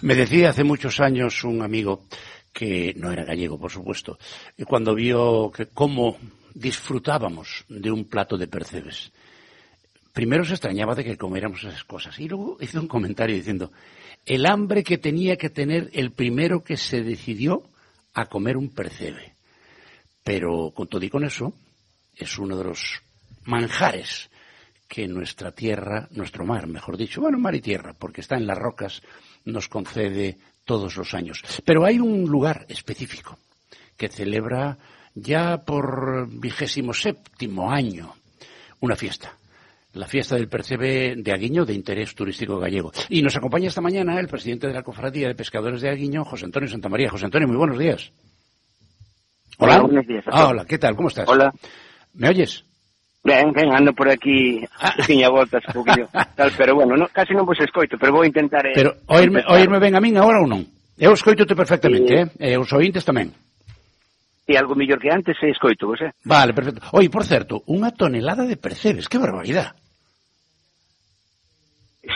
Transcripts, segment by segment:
Me decía hace muchos años un amigo, que no era gallego, por supuesto, cuando vio que cómo disfrutábamos de un plato de percebes. Primero se extrañaba de que comiéramos esas cosas y luego hizo un comentario diciendo: el hambre que tenía que tener el primero que se decidió a comer un percebe. Pero con todo y con eso, es uno de los manjares que nuestra tierra, nuestro mar, mejor dicho, bueno, mar y tierra, porque está en las rocas, nos concede todos los años. Pero hay un lugar específico que celebra ya por 27º año una fiesta. La fiesta del percebe de Aguiño, de interés turístico gallego. Y nos acompaña esta mañana el presidente de la Cofradía de Pescadores de Aguiño, José Antonio Santamaría. José Antonio, muy buenos días. Hola. Hola, buenos días. Hola, ¿qué tal? ¿Cómo estás? Hola. ¿Me oyes? Ben, ando por aquí, tiña voltas un poquillo, tal, pero bueno, no, casi non vos escoito, pero vou intentar... Pero oírme ben a min agora ou non? Eu escoito-te perfectamente, os ointes tamén. E algo mellor que antes escoito vos, Vale, perfecto. Oi, por certo, unha tonelada de percebes, que barbaridade.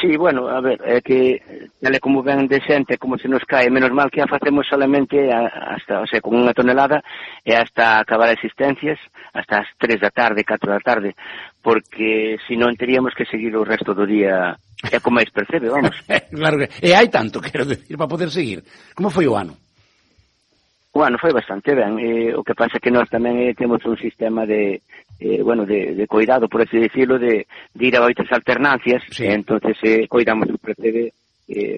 Sí, bueno, a ver, é que tal como ven de xente, como se nos cae, menos mal que a facemos solamente hasta, o sea, con unha tonelada e hasta acabar as existencias, hasta as 3 da tarde, 4 da tarde, porque se non teríamos que seguir o resto do día e con máis percebe, vamos. Claro que, e hai tanto, quero decir, para poder seguir. Como foi o ano? Bueno, foi bastante ben, o que pasa que nós tamén temos un sistema de cuidado, por así decirlo, de ir a moitas alternancias, sí. Entonces cuidamos o percebe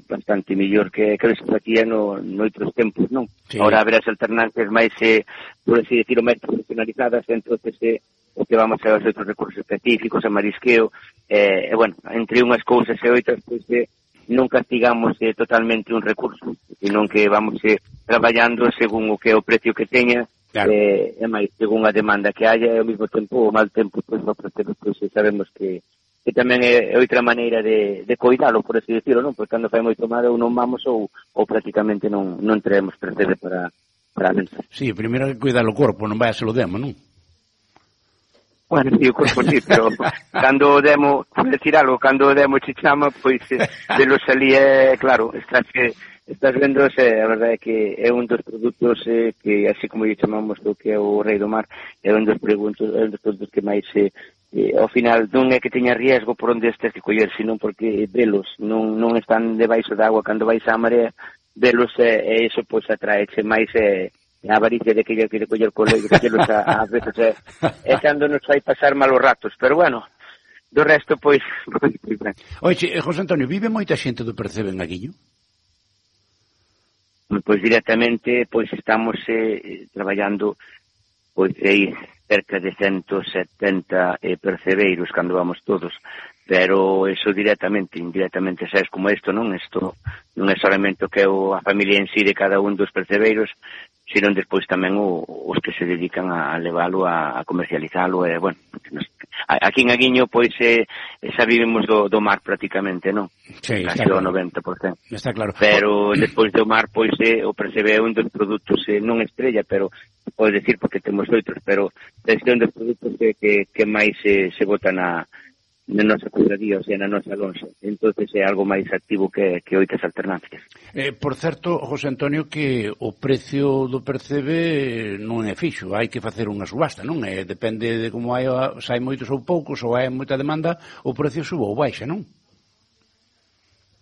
bastante mellor que se facía noutros tempos, non? Sí. Ahora haber as alternancias máis, por así decirlo, máis profesionalizadas, entonces o que vamos a os outros recursos específicos, a marisqueo, bueno, entre unhas cousas e outras, pois non castigamos totalmente un recurso, senón que vamos traballando según o que é o precio que teña, claro. E máis según a demanda que haya, e ao mesmo tempo o mal tempo, pois sabemos que tamén é outra maneira de coidalo, por así decirlo, non? Pois cando fai moito mal ou non vamos ou prácticamente non traemos percebe para a mesa. Sí, primeiro que cuidar o corpo, non vai a se lo demo, non? Bueno, sí, o corpo sí, pero cando o demo, por decir algo, cando o demo che chama, pois de lo salí, claro, estás vendo, a verdade é que é un dos produtos que, así como lle chamamos do que é o rei do mar, é un dos produtos que máis, ao final, non é que teña riesgo por onde estes que coller, senón porque velos non están debaixo da agua cando vais á marea, velos, e iso pois atraeche máis a avaricia de que quere coller collelos a veces é cando nos fai pasar malos ratos, pero bueno, do resto pois ben. Oye, José Antonio, vive moita xente do percebe en Aguiño? Pois directamente pois estamos traballando pois aí cerca de 170 percebeiros cando vamos todos, pero eso indirectamente, sabes como isto, non? Isto non é solamente o que é a familia en sí de cada un dos percebeiros, sino despois tamén os que se dedican a leválo, a comercializalo, bueno, aquí en Aguiño, pois, xa vivimos do mar prácticamente, non? Sí, casi o 90%. Está claro. Pero despois do mar, pois, o percebe un dos produtos, non estrella, pero pode decir porque temos outros, pero é un dos produtos que máis se bota na nosa cofradía, o sea, na nosa lonxa. Entonces é algo máis activo que outras alternancias. Por certo, José Antonio, que o precio do percebe non é fixo, hai que facer unha subasta, non? Depende de como se hai moitos ou poucos, ou hai moita demanda, o precio suba ou baixa, non?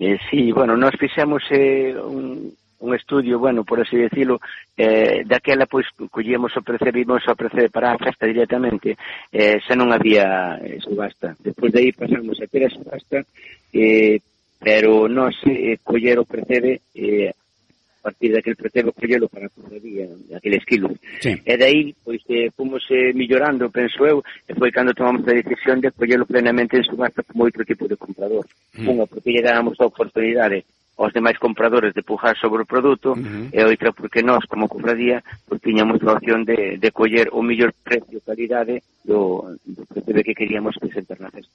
Sí, bueno, nós fixemos un estudio, bueno, por así decirlo, daquela, pois, collíamos o percebe para a festa directamente, xa non había subasta. Despois de aí pasamos a ter a subasta, pero nós coller o percebe, a partir daquele percebe collelo para a cofradía, aqueles kilos. Sí. E de aí, pois, fomos mellorando, penso eu, e foi cando tomamos a decisión de collelo plenamente en subasta como outro tipo de comprador. Unha, porque lle dábamos a oportunidade aos demais compradores de pujar sobre o produto, e outra porque nós, como cofradía, pues, tiñamos a opción de coller o mellor precio calidade do percebe que queríamos presentar na festa.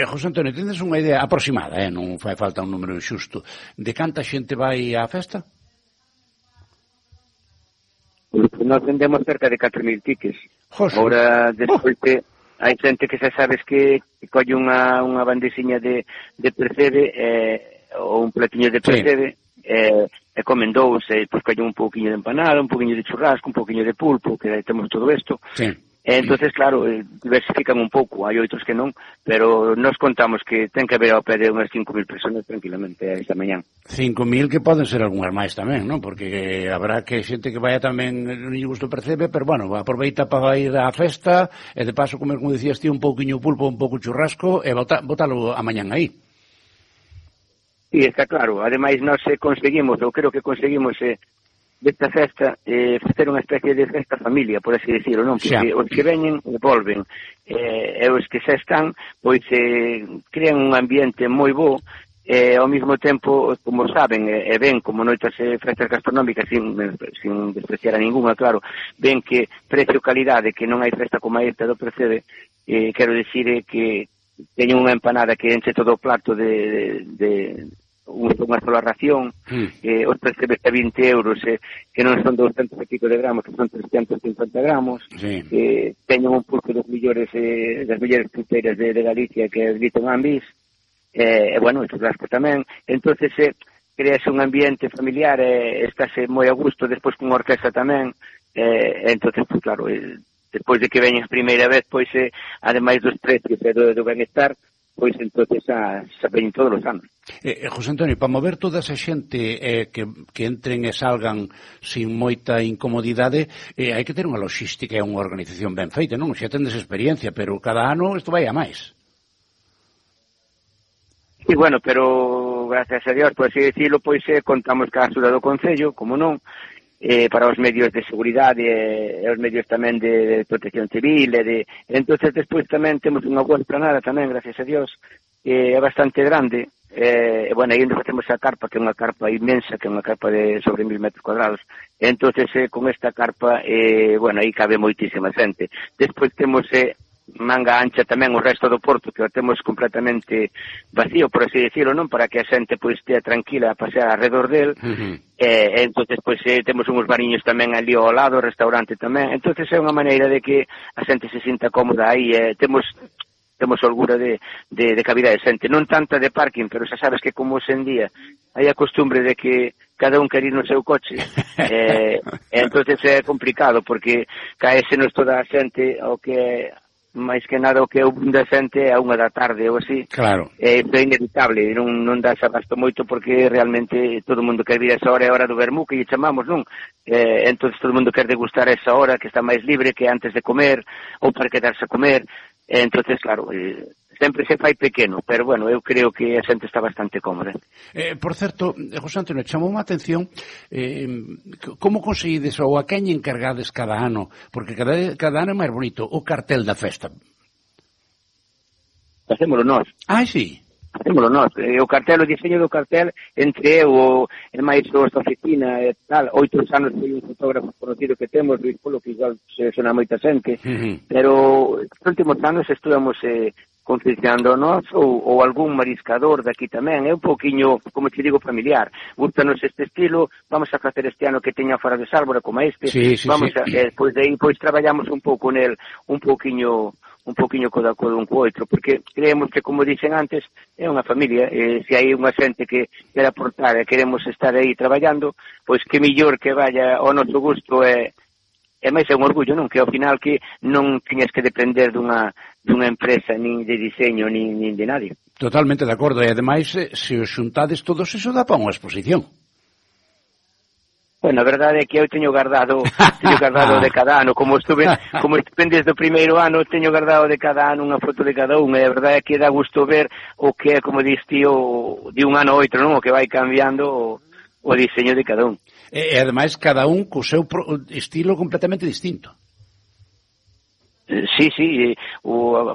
José Antonio, tendes unha idea aproximada, non fai falta un número xusto, de canta xente vai á festa? Pues, nós vendemos cerca de 4.000 tickets. Ahora, despois hai xente que xa sabes que colle unha bandesiña de percebe, ou un platiño de percebe, comen dous, pois collen un pouquiño de empanada, un pouquiño de churrasco, un pouquiño de pulpo, que temos todo isto. Sí. Entonces, claro, diversifican un pouco, hai outros que non, pero nos contamos que ten que haber ao pé de unhas 5.000 personas tranquilamente esta mañán. 5.000 que poden ser algunhas máis tamén, non? Porque habrá que xente que vaya tamén non lle gusto percebe, pero bueno, aproveita para ir á festa e de paso comer, como dicías ti, un pouquiño pulpo, un pouco churrasco e botalo a mañán aí. Sí, está claro. Ademais, nós conseguimos, eu creo que conseguimos desta festa facer unha especie de festa familia, por así decirlo, non? Porque os que veñen volven, e os que xa están, pois crean un ambiente moi bo, ao mesmo tempo, como saben, e ven como noitas festas gastronómicas, sin despreciar a ninguna, claro, ven que precio-calidade, que non hai festa como esta do Percebe, quero dicir que teñen unha empanada que enche todo o plato de unha sola ración, os Percebes a 20 euros, que non son 200 e pico de gramos, que son 350 gramos, teñen un pulpo das mellores pulpeiras de Galicia, que é Grito Ambis, bueno, o churrasco tamén. Entonces crease un ambiente familiar, estáse moi a gusto, despois con orquesta tamén, entonces, pues claro, despois de que veñen a primeira vez, pois, ademais dos precios e do benestar, pois entonces xa veñen todos os anos. José Antonio, para mover toda esa xente que entren e salgan sin moita incomodidade, hai que ter unha logística e unha organización ben feita, non? Xa tendes experiencia, pero cada ano isto vai a máis. Sí, bueno, pero gracias a Dios, por así decirlo, pois contamos ca axuda do Concello, como non, para os medios de seguridade e os medios tamén de protección civil entonces despois tamén temos unha boa esplanada tamén, gracias a Dios, é bastante grande, bueno, aí onde facemos a carpa, que é unha carpa inmensa, que é unha carpa de sobre 1.000 metros cuadrados, entonces con esta carpa, bueno, aí cabe moitísima xente. Despois temos manga ancha tamén o resto do porto, que o temos completamente vacío, por así decirlo, non? Para que a xente pois estea tranquila a pasear alrededor del. Entonces pois temos uns bariños tamén ali ao lado, o restaurante tamén. Entonces é unha maneira de que a xente se sinta cómoda aí. Temos holgura de cabida de xente, non tanta de parking, pero xa sabes que como hoxe en día hai a costumbre de que cada un quer ir no seu coche, entonces é complicado, porque caésenos toda a xente ao que máis que nada o que é o da xente a 1 da tarde ou así. Claro. É inevitable, non dá abasto moito porque realmente todo o mundo quer vir a esa hora, é a hora do vermú, que lle chamamos, non? Entón todo o mundo quer degustar a esa hora, que está máis libre que antes de comer, ou para quedarse a comer. Entonces, claro, sempre se fai pequeno, pero bueno, eu creo que a xente está bastante cómoda. Por certo, José Antonio, chamou unha atención como conseguides ou a quen encargades cada ano, porque cada ano é máis bonito o cartel da festa. Facémolo nós. Ah, sí? Facémolo nós. O cartel, o diseño do cartel, entre eu e máis da oficina e tal, 8 anos foi un fotógrafo conocido que temos, Luis Polo, que igual se sona moita xente, pero nos últimos anos estuvamos concienciando nós ou algún mariscador daqui tamén, é un pouquiño, como te digo, familiar. Gústanos este estilo, vamos a facer este ano que teña fora de Sálvora como este, vamos a, pois de aí pois traballamos un pouco nel, un pouquiño coda un co outro, porque creemos que, como dicen antes, é unha familia, se hai unha xente que quer aportar e queremos estar aí traballando, pois que millor que vaya ao noso gusto e máis é un orgullo, non? Que ao final que non teñas que depender dunha empresa, nin de diseño, nin de nadie. Totalmente de acordo, e ademais, se os xuntades todos, iso dá para unha exposición. Bueno, a verdade é que eu teño guardado de cada ano, como estuve desde o primeiro ano, teño guardado de cada ano unha foto de cada un, e a verdade é que dá gusto ver o que é, como dis ti, de un ano a outro, non? O que vai cambiando o diseño de cada un. E ademais, cada un co seu estilo completamente distinto. Sí,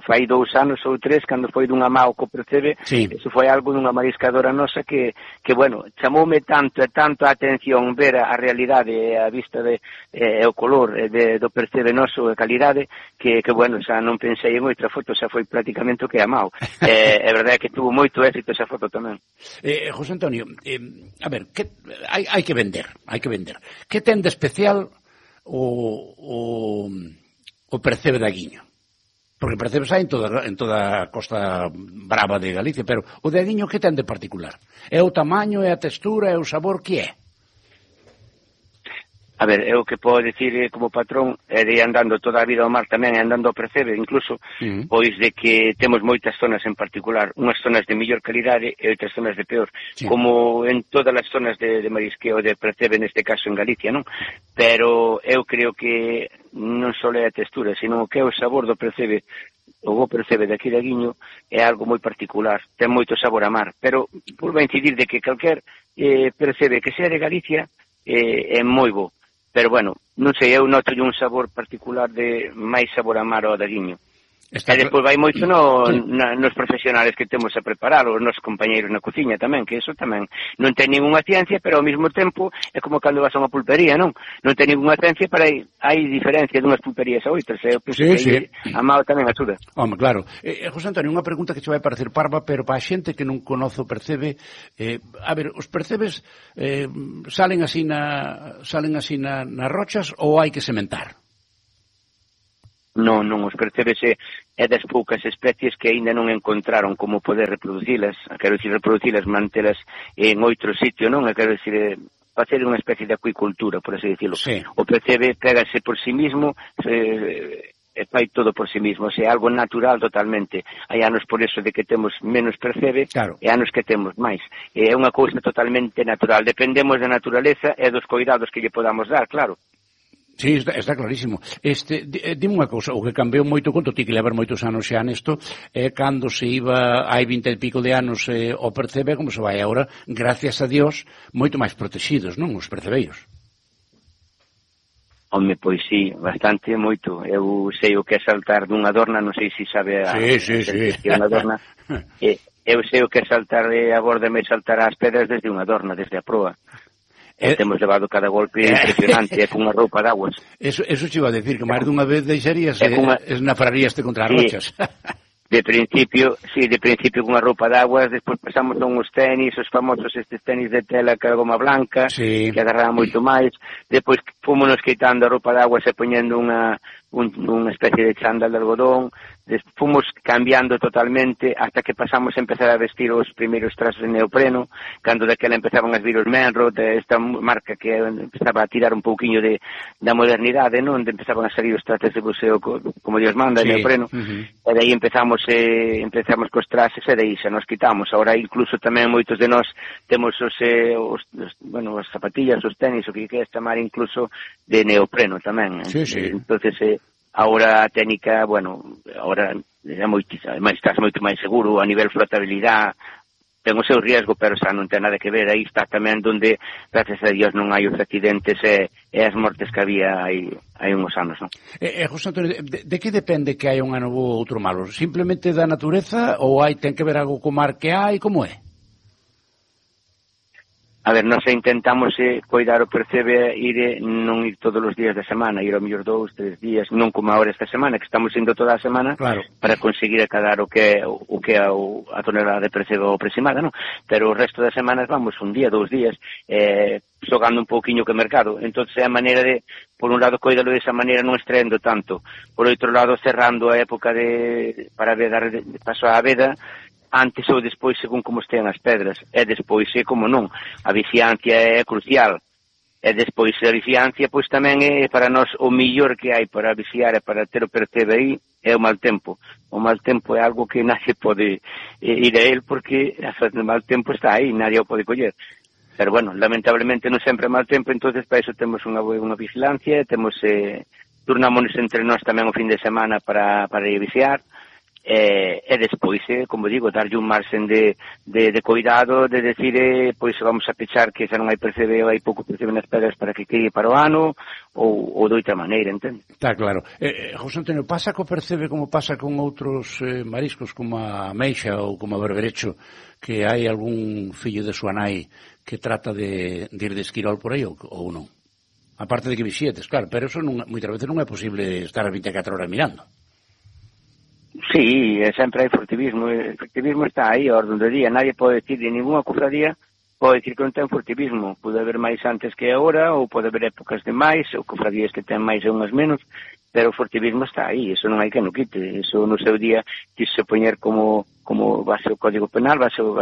fai 2 anos ou 3, cando foi dunha Mao co Percebe, eso foi algo dunha mariscadora nosa que bueno, chamoume tanto a atención ver a realidade, a vista o color do Percebe noso, a calidade, que bueno, xa non pensei en outra foto, xa foi prácticamente o que a Mao. É verdade que tuvo moito éxito esa foto tamén. José Antonio, a ver, hai que vender. Que ten de especial o Percebe da Guiño? Porque percebes hai en toda a costa brava de Galicia, pero o de Aguiño que ten de particular? É o tamaño, é a textura, é o sabor, que é? A ver, eu que podo dicir como patrón é de andando toda a vida ao mar tamén, andando ao Percebe incluso, pois de que temos moitas zonas en particular, unhas zonas de mellor calidade e outras zonas de peor, como en todas as zonas de marisqueo de Percebe, neste caso en Galicia, non? Pero eu creo que non só é a textura, sino que é o sabor do Percebe, o bo Percebe de aquí de Aguiño é algo moi particular, ten moito sabor a mar, pero volvo a incidir de que calquer Percebe que sea de Galicia é moi bo. Pero, bueno, non sei, eu noto un sabor particular de máis sabor a mar ao de Aguiño. E despois vai moito nos profesionales que temos a preparar, os nosos compañeiros na cociña tamén, que eso tamén non ten ninguna ciencia, pero ao mesmo tempo é como cando vas a unha pulpería, non? Non ten ninguna ciencia, pero hai diferencia dunhas pulperías a outras, eu penso que a mao tamén axuda. Home, claro. José Antonio, unha pregunta que che vai parecer parva, pero para a xente que non conoce o Percebe, a ver, os percebes salen así nas rochas ou hai que sementar? Non, os percebes é das poucas especies que aínda non encontraron como poder reproducilas, quero dicir reproducilas, mantelas en outro sitio, non? Quero dicir facer unha especie de acuicultura, por así decirlo. Sí. O percebe pégase por sí mismo, fai todo por sí mismo, é algo natural totalmente. Hai anos por eso de que temos menos percebe, claro, e anos que temos máis. É unha cousa totalmente natural, dependemos da naturaleza e dos cuidados que lle podamos dar, claro. Sí, está clarísimo. Dime unha cousa, o que cambiou moito, conto ti que levar moitos anos xa nesto, é cando se iba, hai 20 e pico de anos, o Percebe, como se vai agora, gracias a Dios, moito máis protegidos, non, os percebeiros? Home, pois sí, bastante, moito. Eu sei o que é saltar dunha dorna, non sei se sabe sí. Unha dorna. Eu sei o que é saltar a borda e saltar as pedras desde unha dorna, desde a proa. Temos levado cada golpe impresionante, cunha roupa de aguas. Eso che iba a decir, que máis dunha vez deixarías esnafraríaste contra as rochas. De principio cunha roupa de aguas, despois pasamos a uns tenis, os famosos estes tenis de tela que a goma blanca, que agarraban moito máis, despois fomos quitando a roupa de aguas e poñendo unha especie de chándal de algodón, fomos cambiando totalmente hasta que pasamos a empezar a vestir os primeiros trajes de neopreno, cando daquela empezaban a vir os Menrod, esta marca que empezaba a tirar un pouquiño da modernidade, non? Onde empezaban a salir os trajes de buceo como Dios manda, de neopreno, e daí empezamos cos trajes e daí xa nos quitamos. Agora incluso tamén moitos de nós temos as zapatillas, os tenis, o que queres chamar incluso de neopreno tamén. Entonces ahora a técnica, ahora estás moito máis seguro a nivel flotabilidade, ten o seu riesgo, pero xa non ten nada que ver. Aí está tamén donde, gracias a Dios, non hai os accidentes e as mortes que había hai uns anos, non? José Antonio, de que depende que hai un ano bo ou outro malo? Simplemente da natureza ou ten que ver algo co mar que hai? Como é? A ver, nós intentamos coidar o Percebe, non ir todos os días da semana, ir ao mellor 2, 3 días, non como agora esta semana, que estamos indo toda a semana, claro, para conseguir acadar o que é a tonelada de Percebe aproximada, non? Pero o resto das semanas vamos un día, 2 días, xogando un pouquiño que mercado. Entón, é a maneira de, por un lado, coidalo desa maneira, non extraendo tanto. Por outro lado, cerrando a época para dar paso á veda, antes ou despois según como estean as pedras, e despois como non, a vixiancia é crucial, e despois a vixiancia pois tamén é para nós o millor que hai para vixiar e para ter o Percebe aí é o mal tempo. O mal tempo é algo que nadie pode ir a él porque o mal tempo está aí, nadie o pode coller. Pero lamentablemente non sempre é mal tempo, entonces para iso temos unha vigilancia, temos turnámonos entre nós tamén o fin de semana para ir vixiar. E despois, como digo, darlle un marxen de cuidado, de decir, pois vamos a pechar que xa non hai Percebe ou hai pouco Percebe nas pedras para que quede para o ano, ou de outra maneira, entende? Está claro. José Antonio, pasa co Percebe como pasa con outros mariscos como a meixa ou como a berberecho, que hai algún fillo de súa nai que trata de ir de esquirol por aí ou non? Aparte de que vixietes, claro, pero eso moitas veces non é posible estar 24 horas mirando. Sí, sempre hai furtivismo. O furtivismo está aí, a orden do día. Nadie pode decir de ninguna cofradía pode decir que non ten furtivismo. Pode haber máis antes que agora, ou pode haber épocas de máis, ou cofradías que ten máis e unhas menos, pero o furtivismo está aí, eso non hai que no quite, eso no seu día quise poñer como base o Código Penal, base o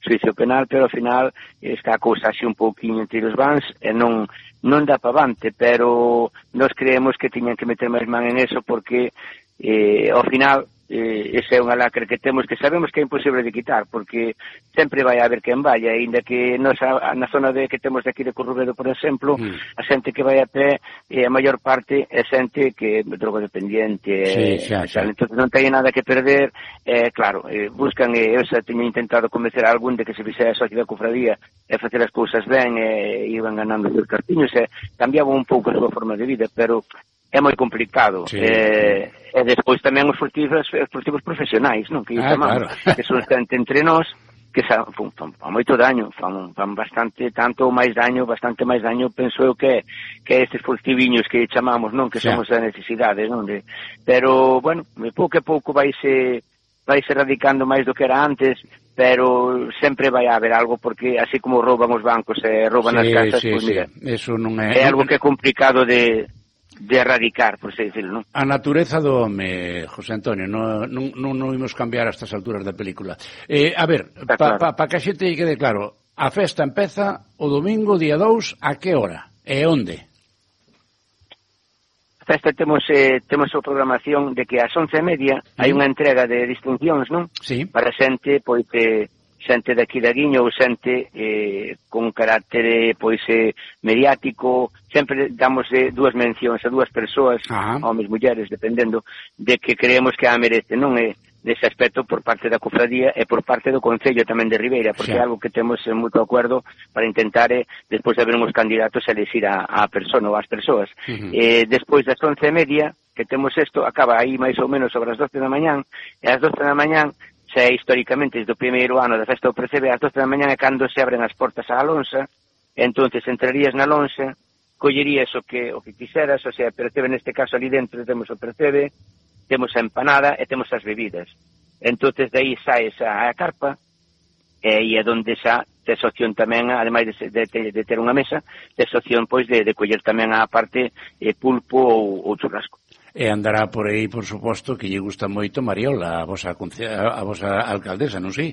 xuicio penal, pero ao final está a cousa así un pouquinho entre os vans e non dá para avante, pero nós creemos que tiñan que meter máis man en eso porque ao final esa é unha lacra que temos que sabemos que é imposible de quitar porque sempre vai haber quen vaya, ainda que nos na zona que temos de aquí de Corrubedo, por exemplo, a xente que vai a pé a maior parte é xente que é drogodependiente, entón non ten nada que perder, claro, buscan, eu xa teño intentado convencer a algún de que se fixera a sociedade cofradía e facer as cousas ben e iban ganando os cartiños e cambiaban un pouco a súa forma de vida, pero é moi complicado. E despois tamén os furtivos profesionais, non? Que chamamos, claro. Que son entre nós, que fan moito daño, fan bastante bastante máis daño, penso eu que estes furtiviños que chamamos, non? Que somos a necesidade, non? Pero, bueno, pouco a pouco vaise radicando máis do que era antes, pero sempre vai haber algo, porque así como rouban os bancos e rouban as casas, pois mira, eso non é algo que é complicado de erradicar, por así decirlo, non? A natureza do home, José Antonio, non imos cambiar a estas alturas da película. A ver, pa que a xente quede claro, a festa empeza o domingo, día 2, a que hora? E onde? A festa temos a programación de que ás 11:30 hai unha entrega de distincións, non? Sí. Para xente, pois, xente daqui da Guiño ou xente con carácter mediático, sempre damos dúas mencións a dúas persoas, homes, mulleres, dependendo de que creemos que a merece, non é dese aspecto por parte da cofradía e por parte do Concello tamén de Ribeira, porque é algo que temos en moito acordo para intentar, despois de haber uns candidatos, elegir a persona ou as persoas. Despois das 11:30, que temos isto, acaba aí máis ou menos sobre as 12 da mañán, e ás 12 da mañán, xa históricamente desde o primeiro ano da festa do Percebe, ás 12 da mañá é cando se abren as portas á lonxa, entonces entrarías na lonxa, collerías o que quixeras, o sea, Percebe neste caso ali dentro temos o Percebe, temos a empanada e temos as bebidas. Entonces de aí saes a carpa e é onde xa tes opción tamén, ademais de ter unha mesa, tes opción pois de coller tamén a parte pulpo ou churrasco. E andará por aí, por suposto, que lle gusta moito Mariola, a vosa alcaldesa, non sei?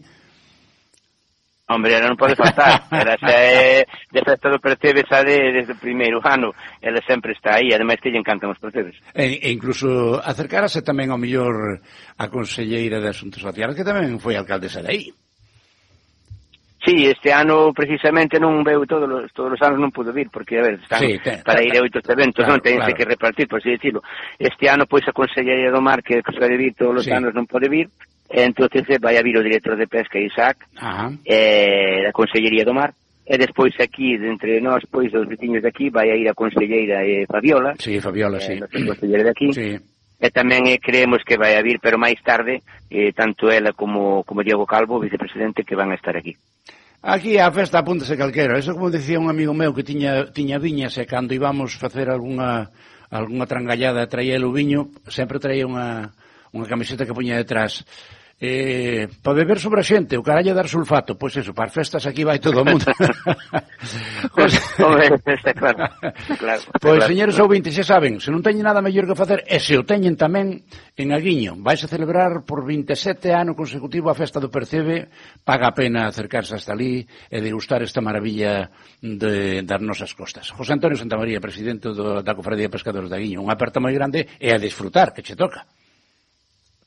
Hombre, ela non pode faltar. Ela xa é de festa do Percebe xa desde o primeiro ano. Ela sempre está aí, ademais que lle encantan os percebes. E incluso acercarase tamén ao mellor a conselleira de Asuntos Sociales, que tamén foi alcaldesa de aí. Sí, este ano precisamente non veu todos os anos non pudo vir, porque, a ver, están para ir a outros eventos, non tense que repartir, por así decirlo. Este ano, pois, a Consellería do Mar, que suele vir todos os anos, non pode vir, entonces vai a vir o director de pesca, Isaac, da Consellería do Mar, e despois aquí, entre nós, pois, os veciños de aquí, vai a ir a Conselleira Fabiola. Sí, Fabiola, sí. Conselleira de aquí. Sí. E tamén creemos que vai a vir, pero máis tarde, tanto ela como Diego Calvo, vicepresidente, que van a estar aquí. Aquí a festa apúntase calquera. Eso como decía un amigo meu que tiña viñas e cando íbamos facer algunha trangallada traía o viño, sempre traía unha camiseta que poña detrás. Para beber sobre a xente, o carallo dar sulfato, pois eso, para as festas aquí vai todo o mundo. Está claro. Pois, señores ouvintes, xa saben, se non teñen nada mellor que facer, e se o teñen tamén en Aguiño, vais a celebrar por 27 ano consecutivo a festa do Percebe, paga a pena acercarse hasta ali e degustar esta maravilla das nosas costas. José Antonio Santamaría, presidente da Cofradía de Pescadores de Aguiño, unha aperta moi grande e a disfrutar, que che toca.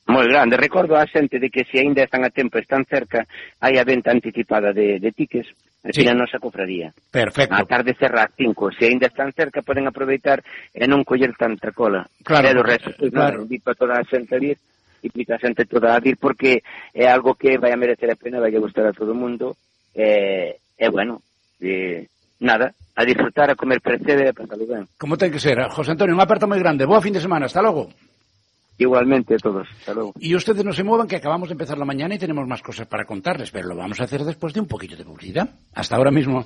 Moi grande. Recordo a xente de que se aínda están a tempo, están cerca, hai a venta anticipada de tickets aquí na nosa cofradía. Perfecto. A tarde cerra as 5. Se aínda están cerca, poden aproveitar e non coller tanta cola. Claro. E do resto, claro. Invito a toda a xente a vir, invito a xente toda a vir, porque é algo que vai a merecer a pena, vai a gustar a todo o mundo. E bueno, nada, a disfrutar, a comer Percebe e a pasalo ben. Como ten que ser. José Antonio, unha aperta moi grande. Boa fin de semana. Hasta logo. Igualmente a todos. Hasta luego. Y ustedes no se muevan, que acabamos de empezar la mañana y tenemos más cosas para contarles, pero lo vamos a hacer después de un poquito de publicidad. Hasta ahora mismo.